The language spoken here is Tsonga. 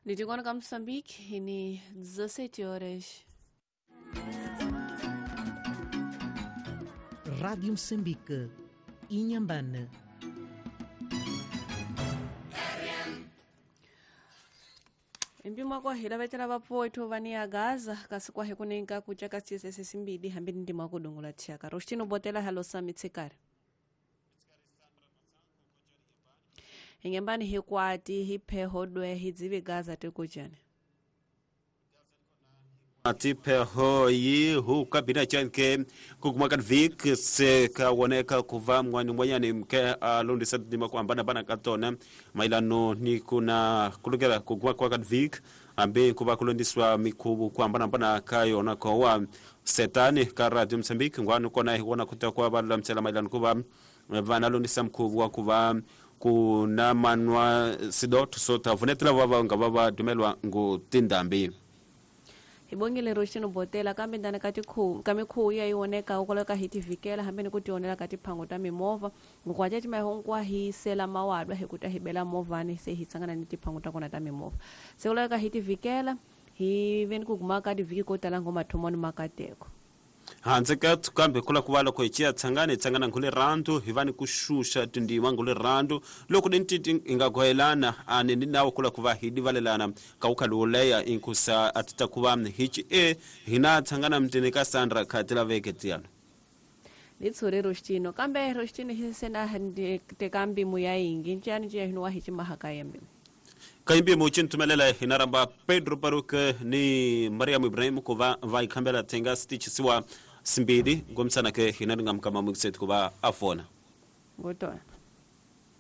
Nditikona ka Moçambique ni 17 horas. Rádio Moçambique, Inhambane. Mpimo kwahila vetela vapfuwethu va ni agaza kasi kwahe kunenka kuca ka css simbili hambi ni ndima kudungula thyaka roxitino botela halo sami tshikari hingembani hikwati hi pheho dwe hi dzivi gaza tikucani tipheho yi huka bina chanke kukuma ka vik se ka woneka kuva mwani mwanyani mke alondisa ndima ku ambana bana ka tona mailano ni kuna kulukela kukuma kwa ka vik ambe kuva kulondiswa mikhuvu ku ambana bana ka yona kowa setani ka Radio Mozambique ngwani kona hi wona kuta kwa va lulamisela mailano kuva vana londisa mkhuvu wa kuva kuna manwa sidoto sota vunetela va nga va va dumelwa ngu tindambi. Hi bongile roxino botela kambe ndani ka tikhuvu ka mikhuvu ya yi oneka ukoleka ka hi tivikela hambi ni ku tionela ka tiphango ta mimovha ngokwaca cimahinkwa hi sela mawadwa hi ku ta hi bela movhani se hi tsangana ni tiphango ta kona ta mimovha se kuleka ka hi tivikela hi ve ni ku guma ka tivhiki ko tala ngo mathomoni makateko. Handle ka kambe kula ku va loko hi ciya tshangana hi tshangana ngule randu hi va ni ku xuxa tindzima ngule randu loko ni titi hi nga gohelana a ni ni nawu kula ku va hi divalelana ka ku khali wo leya inkusa a ti ta ku va hi ci e hina tshangana mutini ka Sandra kha ti laveke tiyana. Ni tshuri roxitino kambe roxitino hi se na teka mbimu ya yingi nciyani ciya hino wa hi cimahaka ya mbimu. Kaimbimo cintumelela hina ramba Pedro Baruke ni Mariam Ibrahim ku va va yi khambela thenga sitichisiwa simbili ngomisana ke hina ri nga mukama mukisetu ku va a fona. Ngotona.